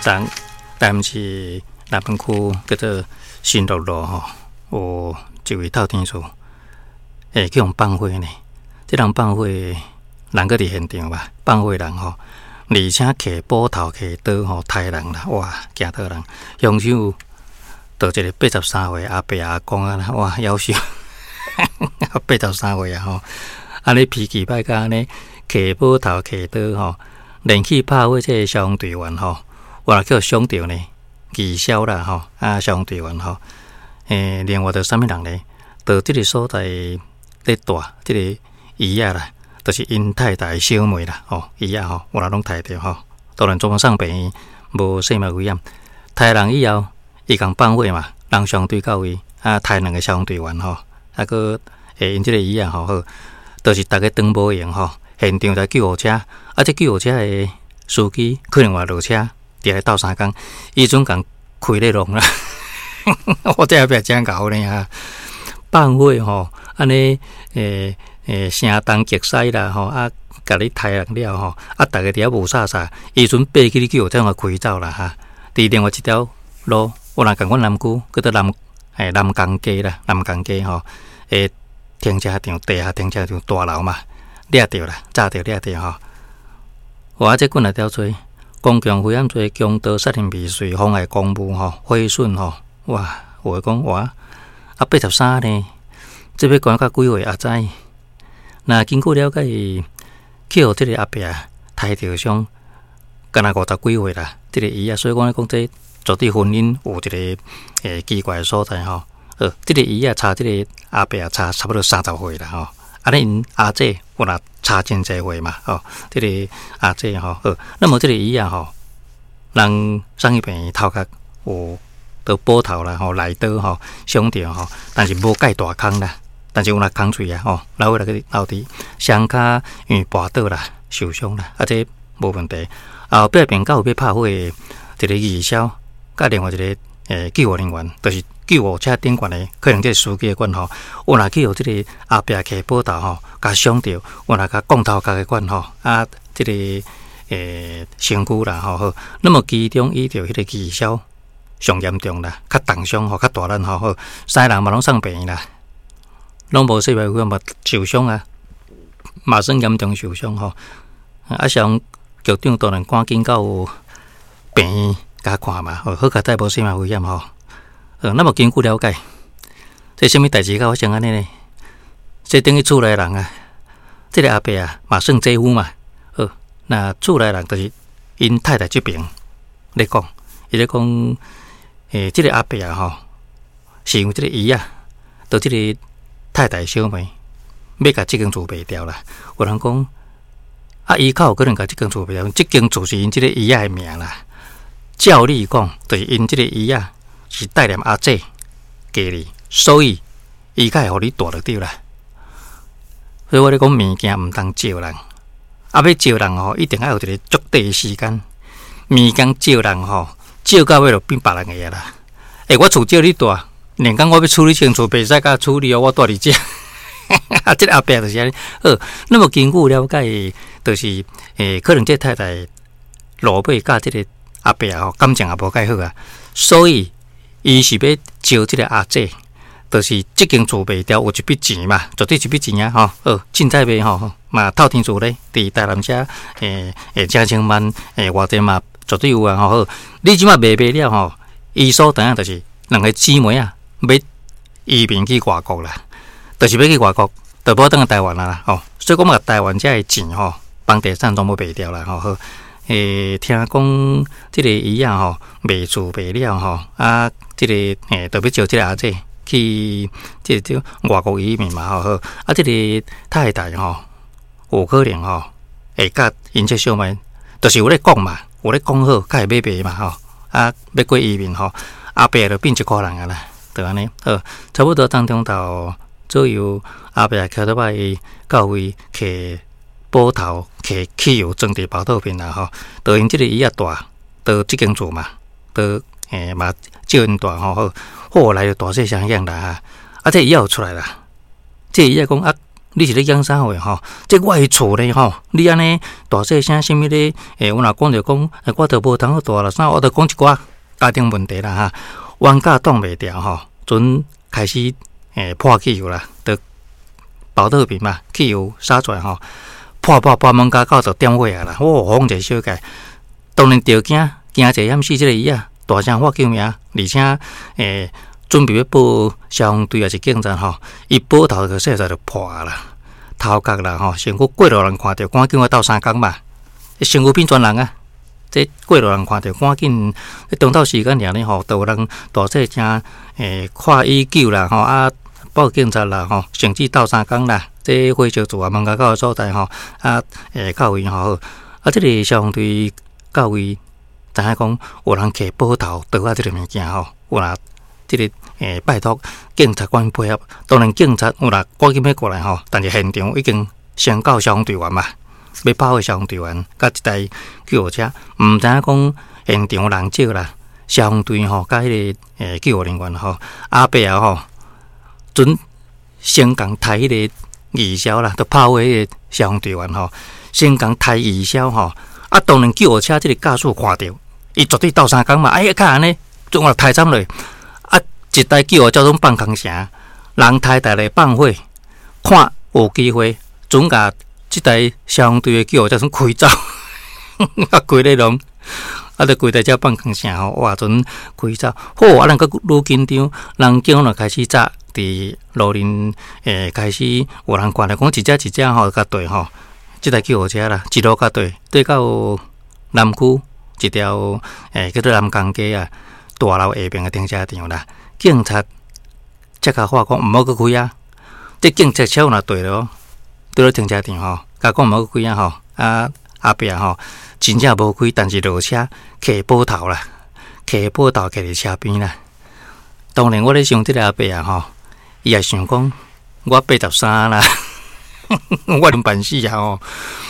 昨台南市南门區叫做新樂路吼，有一位透天厝，會去予放火呢。這人放火，人閣佇現場吧？放火人吼，而且提斧頭、提刀吼，刣人啦！哇，驚倒人！兇手就一個83歲阿伯阿公啊，哇，夭壽，83歲啊吼，按呢脾氣歹甲按呢，提斧頭、提刀吼，連去拍火這个消防隊員吼，哇，去予傷著呢，義消啦吼，啊，消防隊員吼，另外著啥物人呢？佇這个所在咧蹛這个姨仔啦，就是𪜶太太小妹啦，吼，姨仔吼，有人攏刣著吼，當然全部送病院，無生命危險。刣人以後，伊共放火嘛，人傷隊到位，啊，刣兩个消防隊員吼，啊，閣𪜶這个姨仔吼，好，就是逐家當無閒吼，現場台救護車，啊，這救護車的司機可能嘛落車，佇咧鬥相共，伊陣共開咧弄啦，我這後壁真𠢕呢哈，放火吼，按呢，聲東擊西啦吼，啊，共你刣人了吼，啊，逐家佇遐霧煞煞，伊陣爬起你救護車共開走啦哈。佇另外一條路，有人仝款南區，叫做南港街啦，南港街吼，停車場地下停車場大樓嘛，掠著啦，炸著掠著吼。哇！這幾若條罪，公共危險罪、強盜、殺人未遂、妨礙公務吼、毀損吼，哇！有的講哇，啊83呢，這欲關到幾歲也知。若根據了解，去予這个阿伯刣著傷，敢若50幾歲啦。這个姨仔，所以講咧講這絕對婚姻有一个奇怪的所在吼。這个姨仔差這个阿伯差差不多30歲啦吼。按呢𪜶阿姐有若差真濟歲嘛吼。這个阿姐吼，好，那麼這个姨仔吼，人送去病院頭殼有著斧頭啦吼，內刀吼傷著吼，但是無蓋大空啦。但是有若空喙啊吼，流血來去流滴，雙跤因為跋倒啦，受傷啦，啊這無問題。後壁邊到有欲拍火的一个義消，佮另外一个救護人員，就是救護車頂懸的，可能這个司機的款吼，有若去予這个阿伯提斧頭吼，共傷著，有若共摃頭殼的款吼，啊，這个身軀啦吼好。那麼其中伊著彼个義消上嚴重啦，較重傷吼，較大力吼好，三个人嘛攏送病院啦。攏無生命危險嘛受傷啊，嘛算嚴重受傷吼。啊，消防局長當然趕緊到病院共看嘛，好佳哉無生命危險吼。那麼根據了解，這啥物代誌會發生按呢呢？這等於厝內人啊，這个阿伯啊嘛算姐夫嘛。好，那厝內人就是𪜶太太這邊咧講，伊咧講，這个阿伯啊吼，是因為這个姨仔，著這个太太小妹欲共這間厝賣掉啦。有人講，啊，伊較有可能共這間厝賣掉，這間厝是𪜶這个姨仔的名啦。照理講，就是𪜶這个姨仔是帶念阿姐家裡，所以伊較會予你蹛就對啦。所以我咧講物件毋通借人，啊，欲借人吼，一定愛有一个足短的時間。物件借人吼，借到尾就變別人的啦。欸，我厝借你蹛。連講我欲處理這間厝，袂使共處理哦，我蹛佇遮。啊，這个阿伯就是按呢。好，那麼根據了解，就是可能這太太落尾佮這个阿伯吼感情也無蓋好啊，所以伊是欲招這个阿姐，就是這間厝賣掉有一筆錢嘛，絕對一筆錢啊吼。好，凊彩賣吼，嘛透天厝咧，佇台南遮成千萬偌濟嘛，絕對有啊吼。好，你這馬賣賣了吼，伊所知影就是兩个姊妹啊，欲移民去外國啦，就是欲去外國，就無轉來台灣啦吼。所以講嘛，台灣遮的錢吼，房地產全部賣掉啦吼。好，聽講這个姨仔吼賣厝賣了吼，啊，這个就欲招這个阿姐去這個外國移民嘛吼。好，啊，這個太太吼有可能吼會佮𪜶這小妹，就是有咧講嘛，有咧講好，較會欲賣嘛吼，啊，欲過移民吼，阿伯就變一箍人啊啦。就按呢，好，差不多當中頭左右，阿伯騎倒擺到位提斧頭、提汽油裝佇包套邊啦吼。就𪜶這个姨仔蹛，佇這間厝嘛，佇嘛借𪜶蹛吼好，後來就大細聲響啦，啊，這姨仔有出來啦，這姨仔講啊，你是咧講啥話吼？這我的厝咧吼，你按呢大細聲，啥物咧？欸，我若講著講，我著無通好蹛啦，啥我著講一寡家庭問題啦哈。冤家擋袂牢吼，陣開始潑汽油啦，著寶特瓶嘛，汽油灑出來吼，潑潑潑門口就點火啊啦！哦，風一小界，當然著驚驚者險死這個伊仔，大聲喊救命，而且準備欲報消防隊抑是警察吼，伊寶頭就說實就破啦，頭殼啦吼，身軀過路人看著，趕緊我鬥相共嘛，身軀變全人啊！這過路人看著，趕緊，中晝時間爾呢吼，都有人大細聲看醫救啦吼，啊報警察啦吼，甚至鬥相共啦，這火燒厝啊門口的所在吼，啊到位吼，啊這个消防隊到位，知影講有人提寶頭刀仔這个物件吼，有啦。這个拜託警察官配合，當然警察有啦，趕緊欲過來吼，但是現場已經先到消防隊員嘛，欲跑的消防隊員，佮一台救護車，毋知影講現場人少啦，消防隊吼，佮彼个救護人員吼，阿伯啊吼，準先共刣彼個義消啦，都跑火彼個消防隊員吼，先共刣義消吼，啊，當然救護車這个駕駛看著，伊絕對鬥相共嘛，哎呀，較按呢，總我刣斬落。一台救護車攏放空聲，人刣台來放火，看有機會，準共這台消防隊的救護車準開走，啊，規个攏，啊，就規台車放空聲吼，哇，準開走，好，啊，人閣愈緊張，人警就開始早佇路面開始有人看著講一隻一隻吼，共綴吼，這台救護車啦，一路共綴，綴到南區一條叫做南港街啊，大樓下爿的停車場啦。警察才共話講毋好閣開啊！這警察車若綴囉，綴囉停車場吼，共講毋好閣開啊吼！啊阿伯吼，真正無開，但是落車提寶頭啦，提寶頭徛佇車邊啦。當然，我咧想這个阿伯啊吼，伊也想講我83啦，我能辦死啊吼！